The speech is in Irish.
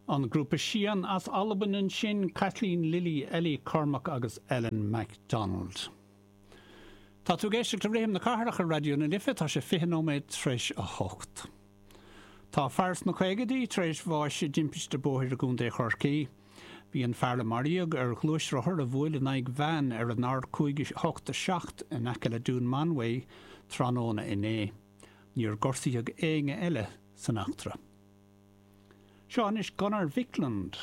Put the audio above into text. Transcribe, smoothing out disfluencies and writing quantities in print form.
An grúpa Sian as Albain ansin, Caitlín, Lily, Ellie, Cormac agus Ellen MacDonald. Tá tú ag éisteacht le Rithim na Cathrach ar Raidió na Life, tá sé 20 nóiméad tar éis a hocht. Tá fear sna caogaidí tar éis bháis i dtimpiste bóthair i gContae Chorcaí. Bhí an fear a maraíodh ar ghluaisrothar a bhuail in aghaidh veain ar an R587 in aice le Dún Mánmhaí tráthnóna inné. Níor gortaíodh éinne eile san eachtra. Seo anois Gunnar Viklund.